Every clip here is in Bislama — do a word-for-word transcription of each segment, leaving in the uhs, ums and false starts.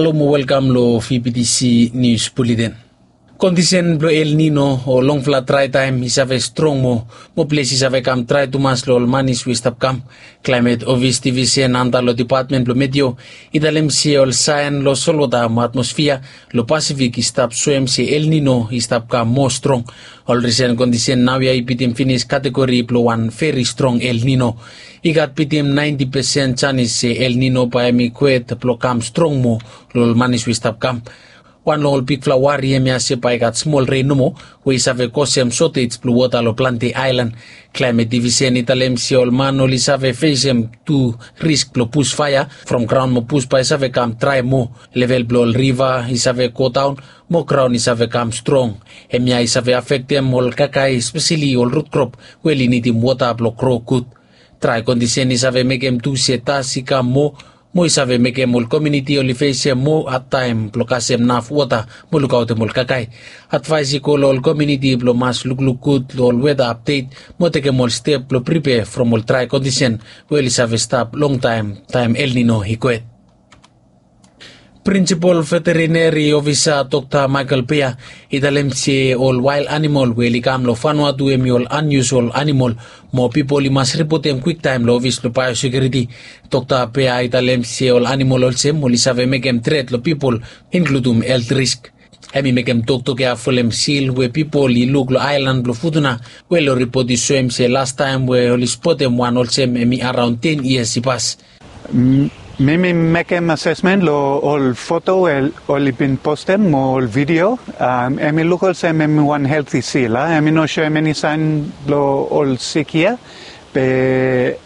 Halo mo welkam lo V B T C News Bulletin. Kondisen blo El Nino o longfala drae taem i save strong moa, mo ples i save kam drae tumas lo ol manis we i stap kam. Klaemet Ofis Divisen anta lo Depatmen blo Meteo i talem se ol saen lo solwota mo atmosfia lo Pasifik i stap soem se El Nino i stap kam moa strong. Ol risen kondisen naoia i bitim finis kategori blo wan veri strong El Nino. I gat bitim naenti pesen janis se El Nino bae hemi kwet blo kam strong moa lo ol manis we i stap kam. Wan long ol bigfala wari hemia se bae i gat smol ren nomo we i save kosem sotej blo wota lo plante aelan. Klaemet Divisen i talem se ol man oli save fesem tu risk blo busfaea from graon mo bus bae i save kam drae moa. Level blo ol riva i save godaon mo graon i save kam strong. Hemia i save afektem ol kakae, espeseli ol rut krop we oli nidim wota blo gro gud. Drae kondisen i save mekem tu se das i kam moa, mo i save mekem ol komuniti oli fesem moa hadtaem blo kasem naf wota mo lukaotem ol kakae. Advaes i go lo ol komuniti blo mas lukluk gud lo ol weta apdet mo tekem ol step blo pripea from ol drae kondisen we oli save stap longtaem taem El Nino i kwet. Prinsipol Veterineri Ofisa Dokta Michael Pea i talem se ol wael animol we oli kam lo Vanuatu hemi ol aniusol animol, mo pipol i mas ripotem kwiktaem lo ofis blo baeosekiuriti. Dokta Pea i talem se ol animol olsem oli save mekem tret lo pipol, inkludum helt risk. Hemi mekem toktok ya folem sil we pipol i luk lo aelan blo Futuna, we lo ripot i soem se lastaem we oli spotem wan olsem hemi araon ten yias i pas. Mi mi mekem asesmen lo ol foto we oli bin postem mo ol video. Hemi luk olsem hemi wan helti sil a, hemi no soem eni saen blo ol sik ya. Be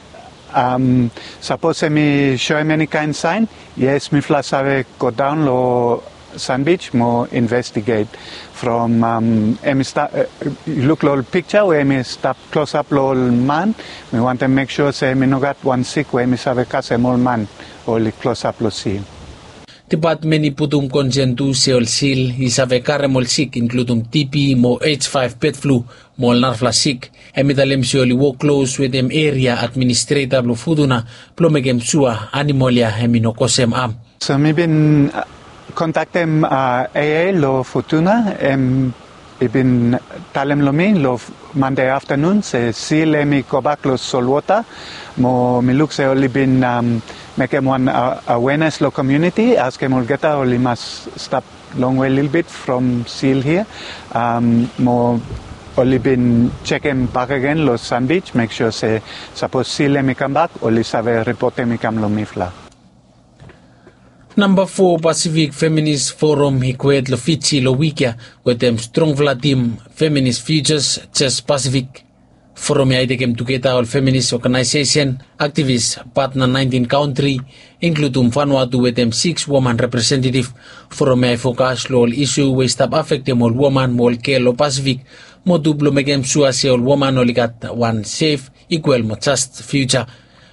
sapos hemi soem eni kaen saen, yes, mifala save godaon lo Sandbij mo investiget. From hemi stap, yu luk lo ol pikja we hemi stap klosap lo ol man. Mi wantem mek sua se hemi no gat wan sik we hemi save kasem ol man oli klosap lo sil. Depatmen i putum konsen tu se ol sil i save karem ol sik, inkludum TB mo H five bird flu mo ol narafala sik. Hemi talem se oli wok klos wetem eria administreta blo Futuna blo mekem sua animol ya hemi no kosem am. So mi bin kontaktem AA lo Futuna, hemi bin talem lo mi lo Mande aftanun se sil hemi gobak lo solwota. Mo mi luk se oli bin mekem wan awenes lo komuniti, askem olgeta oli mas stap longwe lilbit from sil hia. Mo oli bin jekem bakegen lo Sandbij, mek sua se sapos sil hemi kambak, oli save ripotem i kam lo mifala. Namba fo Pasifik Feminis Forum i kwet lo Fiji lo wik ya wetem strongfala tim, Feminis Futures Just Pasifik. Forum ya i tekem tugeta ol feminis oganaesesen, aktivis, patna naentin kantri, inkludum Vanuatu wetem sikis woman representetif. Forum ya i fokas lo ol isu we i stap afektem ol woman mo ol gel lo Pasifik, mo tu blo mekem sua se ol woman oli gat wan sef, ikwal mo jas fiuja.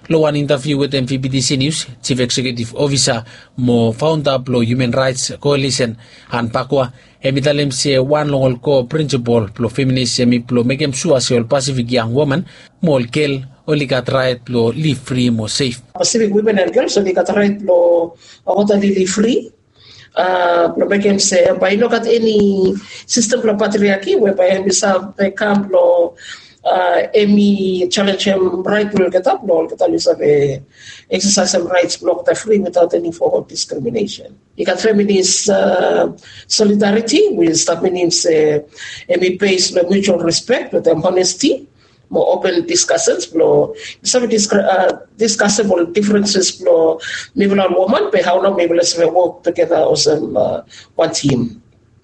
Lo wan intaviu wetem VBTC Nius, Jif Eksekiutif Ofisa mo faonda blo Human Raets Koalisen, Anne Pakwa, hemi talem se wan long ol ko prinsipol blo feminis hemi blo mekem sua se ol Pasifik yang woman mo ol gel oli gat raet blo liv fri mo sef. Pasifik wimen and gels oli gat raet blo wok totali fri, blo mekem se bae i no gat eni sistem blo patriaki we bae hemi save kam blo hemi jalenjem raet blo olgeta blo olgeta oli save eksesaesem raets blo olgeta fri witaot eni fo diskriminesen. I gat feminis solidariti we i stap minim se hemi bes lo mutual respek wetem honesti mo open diskasens blo i save diskasem ol difrenses blo mifala ol woman be hao nao mifala save wok tugeta olsem wan tim.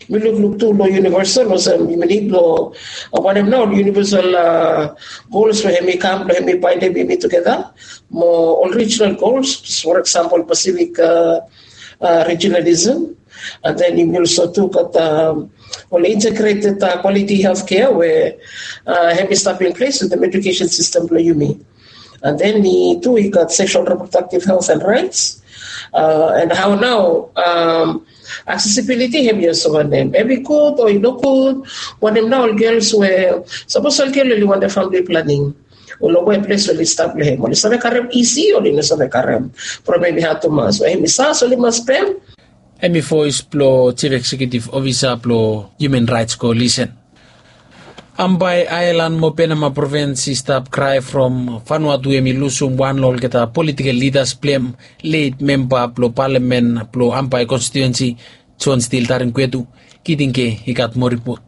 Mi lukluk tu lo Universal olsem yumi nid blo wanem nao ol universal gols we hemi kam blo hemi baendem yumi tugeta mo ol rijinal gols, for example Pasifik rijinalism. And then yumi olso tu gat ol integreted kwaliti heltkea we hemi stap in ples wetem ejukesen sistem blo yumi. And then i tu i gat seksual reprodaktif helt and raets. And hao nao aksesibiliti hemi olso wanem, hemi gud o i no gud? Wanem nao ol gels we sapos ol gel oli wantem famili planing, long we ples oli stap long hem, oli save karem isi o oli no save karem? From hemi had tumas we hemi sas oli mas pem. Hem i voes blong Chief Executive Officer blong Human Rights Coalition. Ambae aelan mo Penama provins i stap krae from Vanuatu hem i lusum wan long olgeta politikel lidas blong hem, leit memba blong palamen blong Ambae konstituensi, John Steel Taringkwetu. Kitinke i gat moa ripot.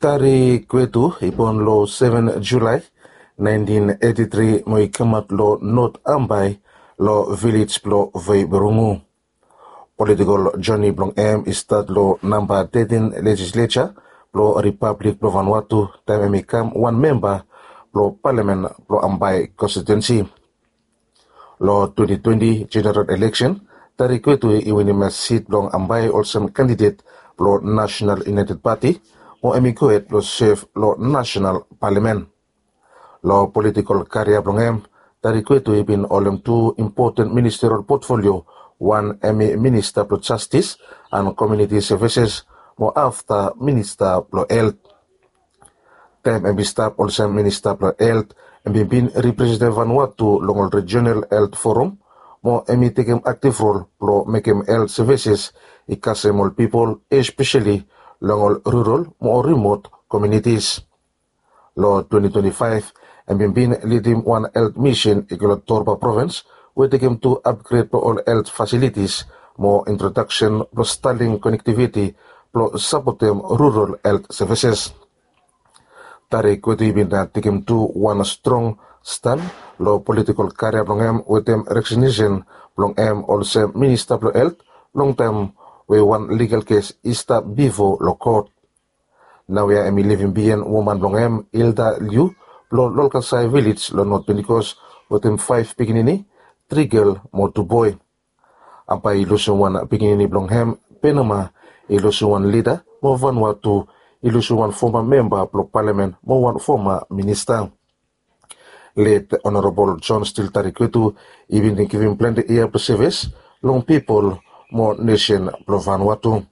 Taringkwetu i bon long seven Julae naentin eti tri mo i kamaot long Not Ambae, long vilej blong Veiburungu. Politikol joni blong hem i stat long namba tetin lejisleja blong Ripablik blong Vanuatu taem hem i kam wan memba blong palamen blong Ambae konstituensi. Long twenti twenti jeneral eleksen, Taringkwetu i winim sit blong Ambae olsem kandidet blong Nasenal Iunaeted Pati, mo hem i gohed blong sev long nasenal palamen. Long politikol karia blong hem, Taringkwetu i bin holem tu impoten ministerial potfolio, wan hem i minista blong jastis and komuniti sevises, mo afta minista blong helt. Taem hem i stap olsem minista blong helt, hem i bin representem Vanuatu long ol Rijonal Helt Forum, mo hem i tekem aktiv rol blong mekem helt sevises i kasem ol pipol, espeseli long ol rural mo ol rimot komunitis. Long twenti twenti faef, hem i bin lidim wan helt misin i go long Torba provins, we i tekem tu apgred blong ol helt fasilitis mo introdaksen blong Starlink konektiviti blong sapotem rural helt sevises. Taringkwetu i bin tekem tu wan strong stan long politikol karia blong hem wetem resignesen blong hem olsem minista blong helt, longtaem we wan ligal kes i stap bifo long kot. Naoia hem i livim biaen woman blong hem, Hilda Liu, blong Lolkasai vilej long Not Pentikos, wetem faef pikinini, tri gel mo tu boe. Ambae i lusum wan pikinini blong hem, Penama i lusum wan lida, mo Vanuatu i lusum wan foma memba blong palamen mo wan foma minista. Let Honorabol John Steel Taringkwetu i bin givim plante yia blong sevis long pipol mo nesen blong Vanuatu.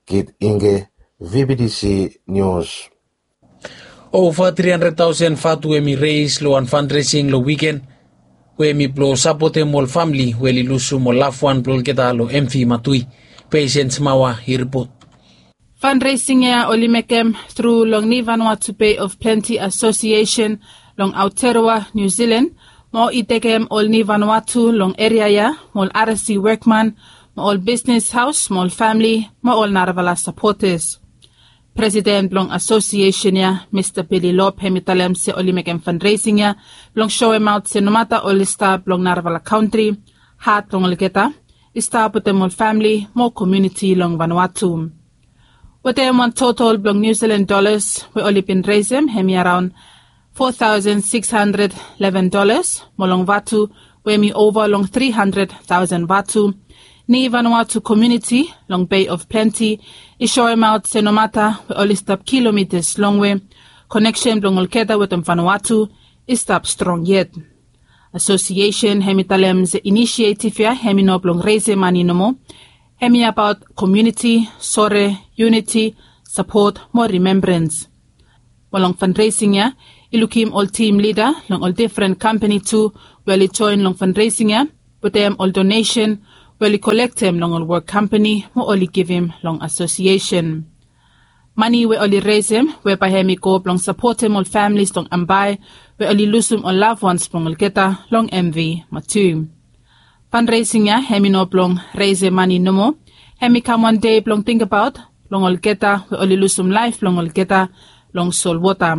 Kit Inge, V B T C News. Ova tri handred taosen vatu hem i reis long wan fanresing long wiken, we hem i blong sapotem ol famle we oli lusum ol lafwan blong olgeta long M V Matui. Patience Mawa i ripot. Fundraising ya oli mekem tru long Ni Vanuatu Bay of Plenty Association long Aotearoa, New Zealand, mo i tekem ol Ni Vanuatu long eria ya, mo ol R S C wokman, mo ol bisnis haos, mo ol famle, mo ol narafala sapotas. Presiden blong asosiesen ya, Mista Billy Lop, hem i talem se oli mekem fundraising ya blong soemaot se nomata oli stap long narafala kantri, hat blong olgeta i stap wetem ol famle mo komuniti long Vanuatu. Wetem wan total blong New Zealand dollars we oli bin resem, hem i araon four thousand six hundred eleven dollars, mo long vatu we hem i ova long three hundred thousand vatu, Ni Vanuatu komuniti long Bay of Plenty i soemaot se nomata we oli stap kilomitas longwe, koneksen blong olgeta wetem Vanuatu i stap strong yet. Asosiesen hem i talem se inisietif ya hem i no blong resem mane nomo, hem i abaot komuniti, sore, yuniti, sapot mo rimembrans. Mo long fundraising ya, i lukim ol tim lida long ol difren kampani tu we oli joen long fundraising ya, wetem ol donesen we oli kolektem long ol wok kampani mo oli givim long asosiesen. Mane we oli resem we bae hem i go blong sapotem ol famlis long Ambae we oli lusum ol lafwans blong olgeta long M V Matui. Fundraising ya hem i no blong resem mane nomo, hem i kam wan dei blong tingbaot blong olgeta we oli lusum laef blong olgeta long solwota.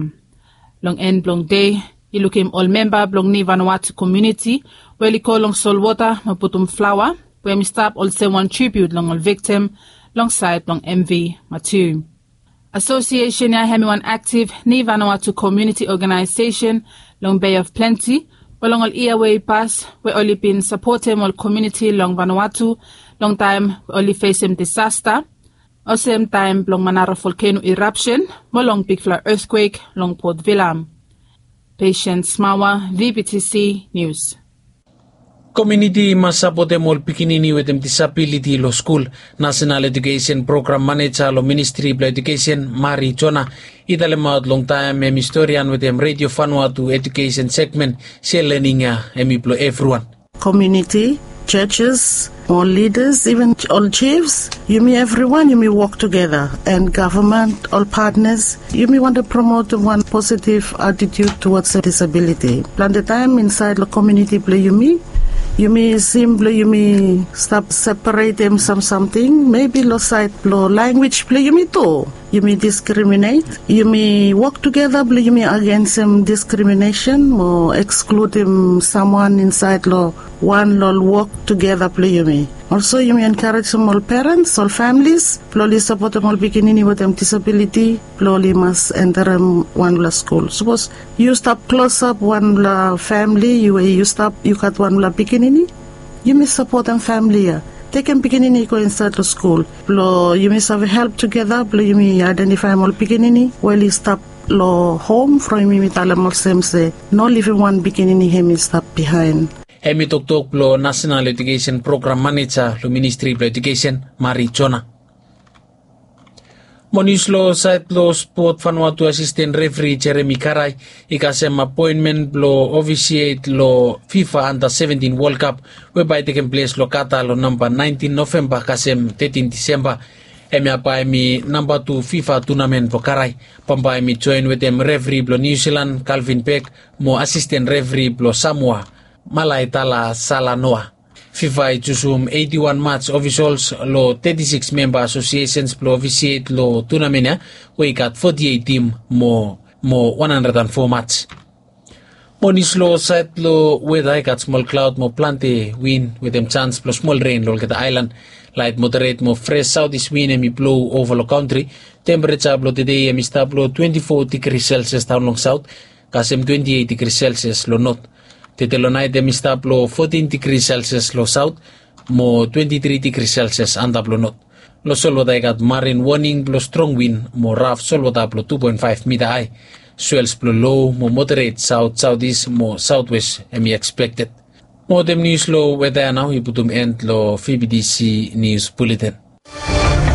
Long en blong dei, i lukim ol memba blong Ni Vanuatu komuniti we oli go long solwota mo putum flaoa we hem i stap olsem wan tribiut long ol viktim long saed blong M V Matui. Asosiesen ya hem i wan aktif Ni Vanuatu komuniti oganaesesen long Bay of Plenty, we long ol yia we i pas we oli bin sapotem ol komuniti long Vanuatu long taem we oli fesem disasta, olsem taem blong Manara volkeno irapsen mo long bigfala etkwek long Port Vila. Patience Mawa, V B T C News. Komuniti i mas sapotem ol pikinini wetem disabiliti long skul. Nasenal Ejukesen Program Maneja long Ministri blong Ejukesen, Mari Jona, i talemaot long taem hem i storian wetem Redio Vanuatu Ejukesen Segmen se lening ya hem i blong evriwan. Komuniti churches, ol lidas, even ol chiefs, yumi evriwan yumi wok tugeta, and gavman, ol patnas, yumi wantem promotem wan positiv atitiut tuwats disabiliti. Plante taem insaed long komiuniti blong yumi, yumi sim blong yumi stap separetem sam samting, mebi long saed blong lanwis blong yumi tu. Yumi diskriminet, yumi wok tugeta blong yumi agensem diskriminesen mo ekskludim samwan insaed long wan long wok tugeta blong yumi. Olso yumi enkarejem ol perens, ol familis blong oli sapotem ol pikinini wetem disabiliti blong oli mas enterem wanpela skul. Sapos yu stap klosap wanpela famili, yu we yu stap, yu gat wanpela pikinini, yumi sapotem famili ya. Tekem pikinini i go insaed long skul blong yumi save help tugeta blong yumi aedentifaem ol pikinini we oli stap long hom from yumi talem olsem se no livim wan pikinini hem i stap bihaen. Hem i toktok blong Nasenal Ejukesen Program Maneja long Ministri blong Ejukesen, Mari Jona. Mo nius long saed blong spot, Vanuatu asisten refri Jeremi Karai i kasem apoenmen blong ofisiet long FIFA Under seventin World Cup we bae i tekem ples long Qatar long namba naentin Novemba kasem tetin Disemba. Hemia bae hemi namba tu FIFA tunamen blong Karai. Bambae hemi joen wetem refri blong Niu Silan, Calvin Beck, mo asisten refri blong Samoa, Malaetala Salanoa. FIFA i jusum eiti wan mats ofisols long teti sikis memba asosiesens blong ofisiet long tunamen ya, we i gat foti eit tim mo mo wan handred and fo mats. Mo nius long saed blong weta, i gat smol klaod mo plante win wetem jans blong smol ren long olgeta aelan. Laet moderet mo fres saotis win hemi blou ova long kantri. Tempereja blong tede hemi stap long twenti fo digri Celsius daon long saot kasem twenti eit digri Celsius long not. Tede long naet hemi stap long fotin digri Celsius long saot mo twenti tri digri Celsius antap long not. Long solwota i gat marin woning blong strong win mo raf solwota blong tu poen faef mita ae. Swels blong lo mo moderet saot saotis mo saotwes hemi ekspekted. Mo wetem nius long weta ya nao i putum en long VBTC Nius Buleten.